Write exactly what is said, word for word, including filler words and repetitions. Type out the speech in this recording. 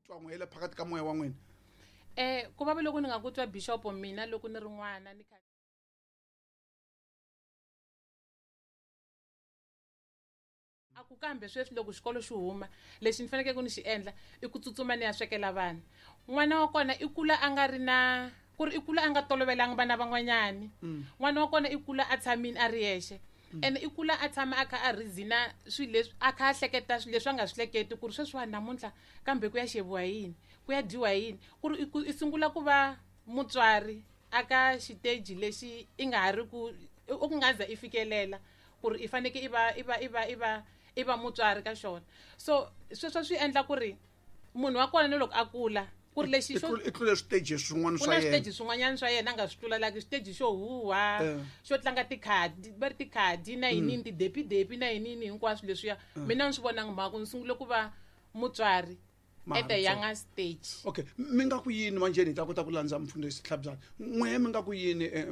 Twa n'we le phakathi ka moya wa n'wina. Eh ku vava loko ni nga ku twa bishop mina loko ni ri n'wana ni kha a ku kambe sweswi loko xikolo xi huma lexi ni fanekele ku ni xi endla i ku tsutsuma ni ya swekela vana. N'wana wa kona i kula a nga ri na ku ri i kula a nga tolovelanga vana van'wanyani. N'wana wa kona i kula a tshamile a ri yexe. Ene i kula a tshama a kha a reason-a swilo leswi a kha a hleketa swilo leswi a nga swi hleketi ku ri sweswiwani namuntlha kambe ku ya xaviwa yini, ku ya dyiwa yini, ku ri i sungula ku va mutswari aka xiteji lexi i nga ha ri ku u ku nga za i fikelela ku ri i fanekele i va i va i va i va i va mutswari ka xona. So sweswo swi endla ku ri munhu wa kona na loko a kula ku ri lexi xo i tlule switeji swin'wana ku swa na yena. switeji swin'wanyana swa yena a nga swi tlulalaki, xiteji xo huha, Eh. xo tlanga tikhadi, va ri tikhadi na yinini, tidepidepi na yinini hinkwaswo leswiya. Mina ni swi vonangi mhaka ku ni sungule ku va mutswari Ma at a ha ri younger stage. Okay, mi nga ku yini manjheni hi ta kota ku landza mfundhisi Tlhabyana. N'we mi nga ku yini eh,